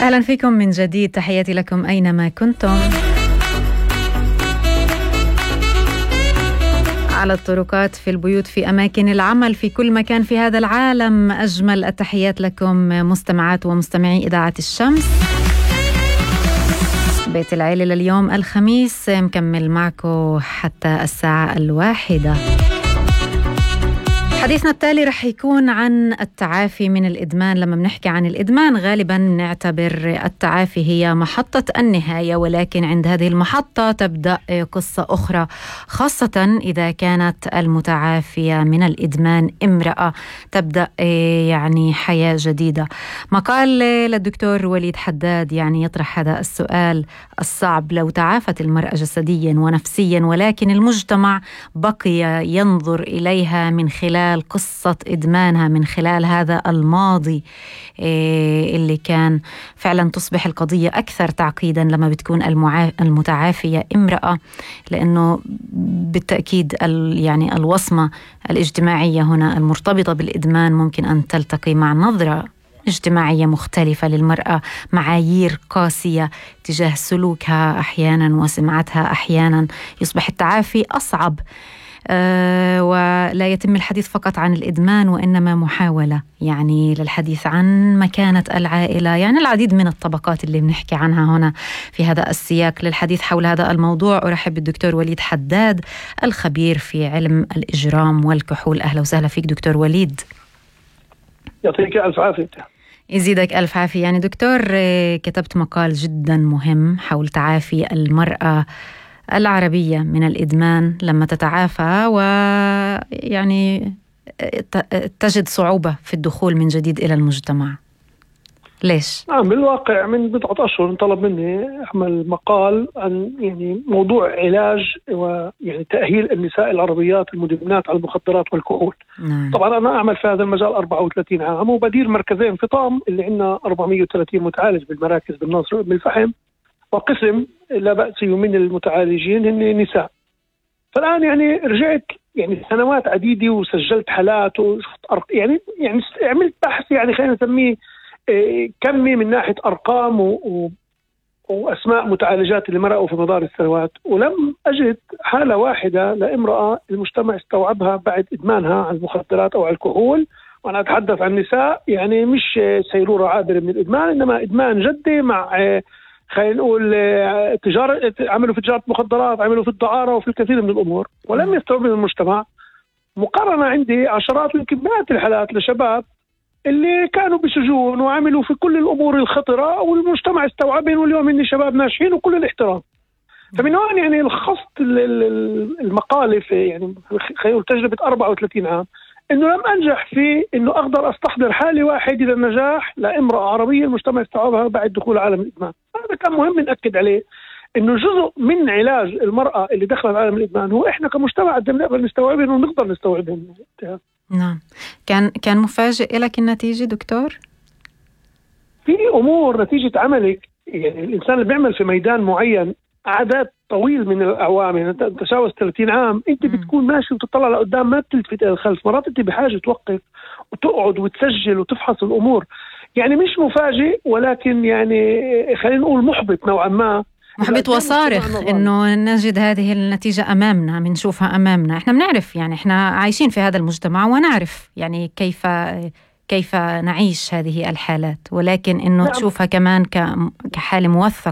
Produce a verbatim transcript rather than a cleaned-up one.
أهلا فيكم من جديد، تحياتي لكم أينما كنتم، على الطرقات، في البيوت، في أماكن العمل، في كل مكان في هذا العالم. أجمل التحيات لكم مستمعات ومستمعي إذاعة الشمس. بيت العيلة لليوم الخميس مكمل معكم حتى الساعة الواحدة. حديثنا التالي رح يكون عن التعافي من الإدمان. لما بنحكي عن الإدمان غالباً نعتبر التعافي هي محطة النهاية، ولكن عند هذه المحطة تبدأ قصة أخرى، خاصة إذا كانت المتعافية من الإدمان امرأة، تبدأ يعني حياة جديدة. مقال للدكتور وليد حداد يعني يطرح هذا السؤال الصعب: لو تعافت المرأة جسديا ونفسيا ولكن المجتمع بقي ينظر إليها من خلال قصة إدمانها، من خلال هذا الماضي اللي كان فعلا تصبح القضية أكثر تعقيدا لما بتكون المتعافية امرأة، لأنه بالتأكيد يعني الوصمة الاجتماعية هنا المرتبطة بالإدمان ممكن أن تلتقي مع نظرة اجتماعية مختلفة للمرأة، معايير قاسية تجاه سلوكها أحيانا وسمعتها أحيانا. يصبح التعافي أصعب، أه ولا يتم الحديث فقط عن الإدمان، وإنما محاولة يعني للحديث عن مكانة العائلة، يعني العديد من الطبقات اللي بنحكي عنها هنا في هذا السياق. للحديث حول هذا الموضوع أرحب بالدكتور وليد حداد، الخبير في علم الإجرام والكحول. أهلا وسهلا فيك دكتور وليد. يعطيك ألف عافية. يزيدك ألف عافية. يعني دكتور، كتبت مقال جدا مهم حول تعافي المرأة العربية من الإدمان لما تتعافى ويعني تجد صعوبة في الدخول من جديد إلى المجتمع. ليش؟ نعم، بالواقع من بضعة أشهر طلب مني أعمل مقال عن يعني موضوع علاج ويعني تأهيل النساء العربيات المدمنات على المخدرات والكحول. نعم. طبعا أنا أعمل في هذا المجال أربعة وثلاثين عام وبدير مركزين في طام اللي عندنا أربعمائة وثلاثين متعالج بالمراكز بالناصر بالفحم، وقسم لا بأس من المتعالجين هن نساء. فالآن يعني رجعت يعني سنوات عديدة وسجلت حالات وشفت يعني يعني عملت بحث يعني خلينا نسميه كمي من ناحية أرقام و... و... وأسماء متعالجات اللي مرقوا في مدار السنوات، ولم أجد حالة واحدة لامرأة المجتمع استوعبها بعد إدمانها على المخدرات أو على الكحول. وأنا أتحدث عن نساء يعني مش سيرورة عابرة من الإدمان، إنما إدمان جدي مع خلينا نقول تجارة، عملوا في تجارة مخدرات، عملوا في الدعارة وفي الكثير من الأمور ولم يستوعبوا المجتمع. مقارنة عندي عشرات ويمكن مئات الحالات لشباب اللي كانوا بسجون وعملوا في كل الأمور الخطرة والمجتمع استوعبهم، واليوم إني شباب ناجحين وكل الاحترام. فمن هون يعني لخصت المقالة في يعني خلينا نقول تجربة أربعة وثلاثين عام، إنه لم أنجح في إنه أقدر أستحضر حالة واحدة للنجاح لامرأة عربية المجتمع استوعبها بعد دخول عالم الإدمان. هذا كان مهم نأكد عليه، إنه جزء من علاج المرأة اللي دخلت عالم الإدمان هو إحنا كمجتمع قدرنا نقدر نستوعبهم ونقدر نستوعبهم. نعم. كان كان مفاجئ لك النتيجة دكتور؟ في أمور نتيجة عملك يعني الإنسان اللي بيعمل في ميدان معين عدد طويل من الأعوام، يعني تجاوز ثلاثين عام، أنت بتكون ماشي وتطلع لقدام ما بتلتفت إلى الخلف. مرات أنت بحاجة توقف وتقعد وتسجل وتفحص الأمور. يعني مش مفاجئ، ولكن يعني خلينا نقول محبط نوعا ما، محبط وصارخ إنه نجد هذه النتيجة أمامنا، بنشوفها أمامنا. إحنا بنعرف يعني إحنا عايشين في هذا المجتمع ونعرف يعني كيف كيف نعيش هذه الحالات، ولكن إنه نعم. تشوفها كمان كحالة موثقة